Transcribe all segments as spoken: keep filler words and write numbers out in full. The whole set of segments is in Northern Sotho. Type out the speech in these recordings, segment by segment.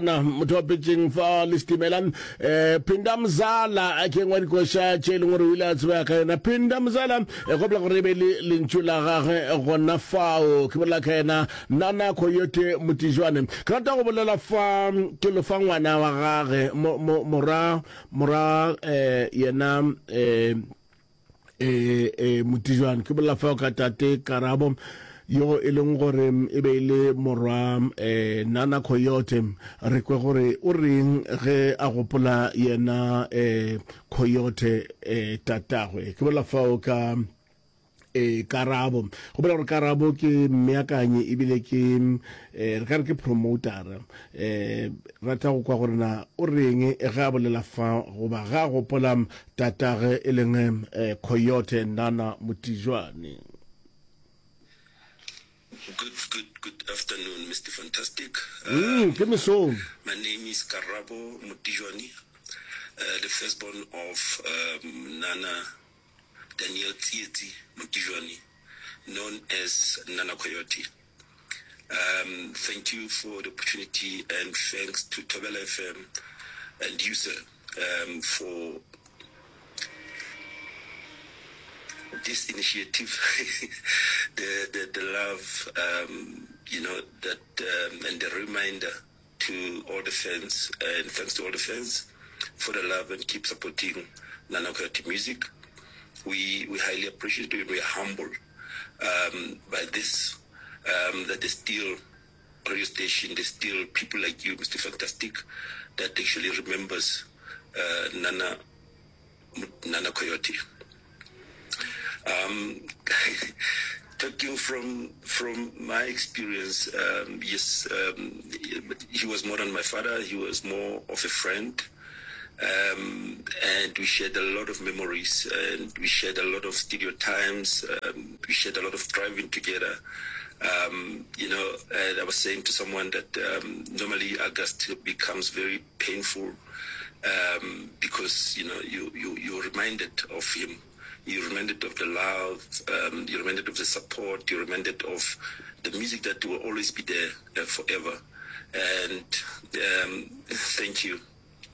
Na motho wa petšeng fa le setimela um Phinda Mzala ke engwe ya dikoša tše e leng gore o ile a tsebega ka yona. Phinda Mzala e gopola gore e be le lentšu la gagwe gona fao. Ke bolela ka yena Nana Coyote Motijwane. Ke rata go bolela fa ke lofa ngwana wa gage mora mora um yena um e e Motijwane. Ke bolela fao ka tate Karabo yo e leng gore e be e le morwa e Nana Coyote. Re kwe gore o reng ge a gopola yena e Coyote e tatagwe. Ke bolela fao ka e Karabo. Gopola gore Karabo ke mmeakanyi ebile ke e re ka re ke promotera. E rata go kwa gore na o reng ge a bolela fa goba ge a gopola tatage e leng e Coyote Nana Motijwane. Good, good, good afternoon, Mister Fantastic. Mm, ke mesong. My name is Karabo Motijwane, uh, the firstborn of um, Nana Daniel Tsietsi Motijwane, known as Nana Coyote. Um, thank you for the opportunity and thanks to Thobela F M and you, sir, um, for this initiative, the, the, the love, um, you know, that, um, and the reminder to all the fans, and thanks to all the fans for the love and keep supporting Nana Coyote music. We, we highly appreciate it. We are humbled, um, by this, um, that there's still radio station, there's still people like you, Mister Fantastic, that actually remembers, uh, Nana, Nana Coyote. Um, talking from, from my experience, um, yes, um, he was more than my father. He was more of a friend. Um, and we shared a lot of memories, and we shared a lot of studio times. Um, we shared a lot of driving together. Um, you know, and I was saying to someone that, um, normally August becomes very painful, um, because, you know, you, you, you're reminded of him. You're reminded of the love, um, you're reminded of the support, you're reminded of the music that will always be there, uh, forever. And, um, thank you.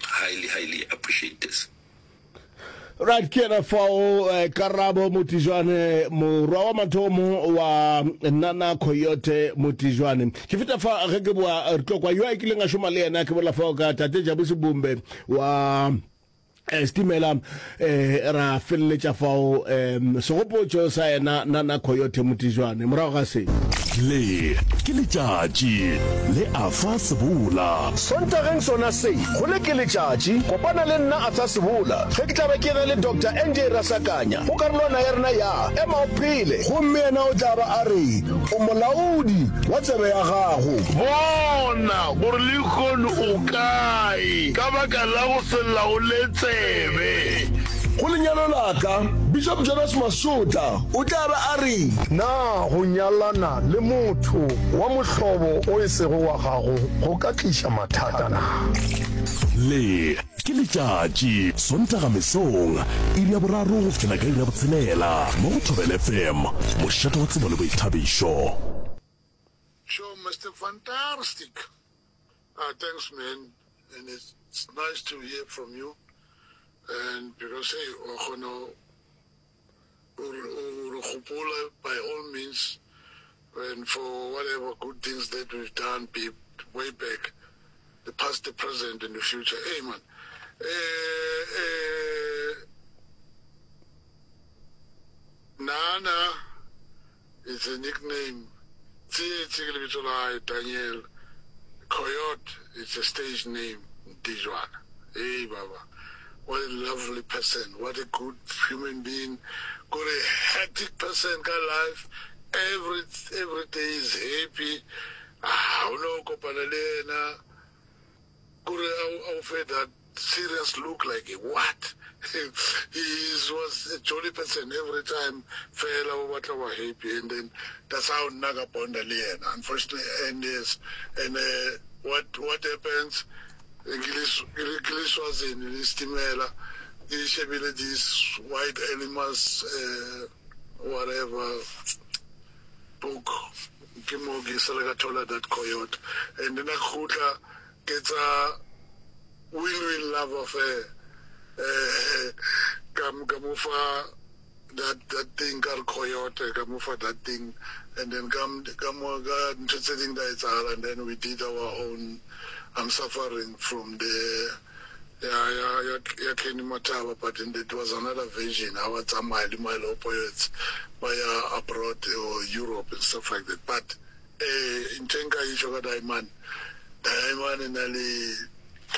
Highly, highly appreciate this. Right, ke yena fao, eh, Karabo Motijwane, morwa wa mathomo wa Nana Coyote Motijwane. Ke feta fa ge ke boa re tlo kwa yo a kileng a šoma le yena, ke bolela fao ka tate Jabu Sebumbe wa eh, Stimela, eh, ra feleletša fao, eh, segopotšo sa yena Nana Coyote Motijwane. Morago ga se. Le ke letšatši le Arthur Sebola. Sontageng sona se, go le ke letšatši, kopana le nna Arthur Sebola ge ke tla be ke ena le Doctor N J Rasakanya go karolwana ya rena ya Ema o Phele. Gomme yena o tla ba a re, O molaodi wa tsebe ya gago. Bona gore lehono o kae ka baka la go se laole tsebe. Go lenyalo la ka, Bishop Jonas Masotla o tla ba a re. Na go nyalana le motho wa mohlobo o e sego wa gago go ka tliša mathata na? Le ke letšatši, Sontaga mesong, iri ya boraro go fihlela ka iri ya botshelela, mo go Thobela F M, mošate wa tsebo le boithabišo. Sure, Mister Fantastic. Ah, thanks, man. And it's, it's nice to hear from you. And because, hey, wa kgona o re gopola by all means, and for whatever good things that we've done be way back, the past, the present, and the future. Hey, man. Eh, eh, Nana is a nickname. Tsietsi ke lebitso la hae, Daniel. Coyote is a stage name, Ntijwana. Hey, Baba. What a lovely person. What a good human being. Got a hectic person ka life. Every, every day is happy. Ah, o no kopana le yena. Kore a o fe that serious look like what? He is, was a jolly person every time. Fela o batla wa happy, and then that's how nna ka bonda le yena. Unfortunately, and yes, and, uh, what, what happens? Ke le Swazini le Stimela, ke shebile this white animals, uh, whatever book, ke mo ke sele ka thola that coyote, and then a khutla Ke tsa win-win love affair. Eh, ka ka mo fa that that thing ka re coyote ka mo fa that thing and then ka ka mo ka ntho tse ding da etsahala and then we did our own I'm suffering from the ya ya ya ya Kenny Mataba but then it was another version ha ba tsamaya le Milo Poets ba ya abroad or Europe and stuff like that but eh ntho e nka e tjho ka Diamond Diamond e na le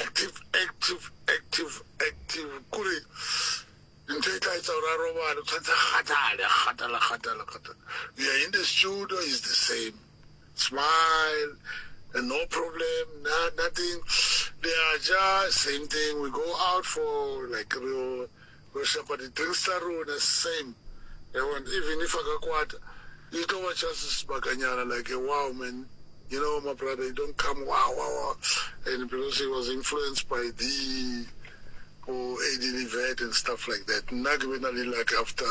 active active active active kore ntho e tla etsa gore a robale o tshwanetse a kgathale a kgathala kgathala kgathala we are in the studio is the same smile and no problem no, nothing they are just same thing we go out for like re re shapa di-drinks tsa rona same yabona even if a ka kwata e tlo ba just sebakanyana like wow man you know my brother you don't come wow wow wow and because he was influenced by the or Eddie Livet and stuff like that nna ke be na le like after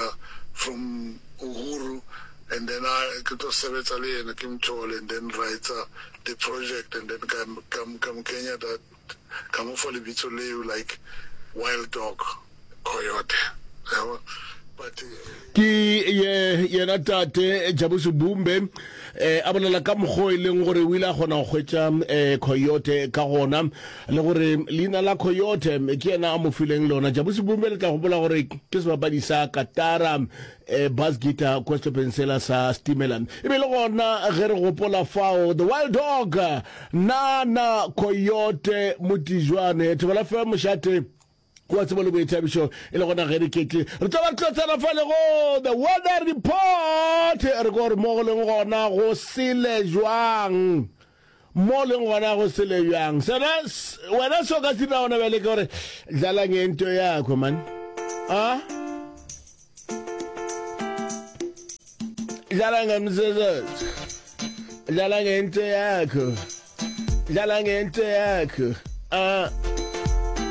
from Uhuru and then I ke tlo sebetsa le yena ke mthole and then write the project and then ka ka ka mo kenya that ka mo fa lebitso leo like wild dog coyote yabo but ke ye yena tate Jabu Sebumbe eh a bolela ka mokgwa e leng gore o ile a kgona go hwetša eh coyote ka gona le gore leina la coyote ke yena a mo fileng lona Jabu Sebumbe le tla gopola gore ke sebapadi sa katara eh bass guitar kwa sehlopheng sela sa Stimela e be le gona ge re gopola fao the wild dog nana coyote motijwane thobela fe mošate wa tsebo le boithabišo e le gona ge re ketle re tlo ba re tlo tsena fale go the weather report re ko gore mo go leng gona go sele jwang mo leng gona go sele bjang sena wena so ka se dira gona bjale ke gore dlala ngento yakho man a dlala ngemsebenzi dlala ngento yakho dlala ngento yakho a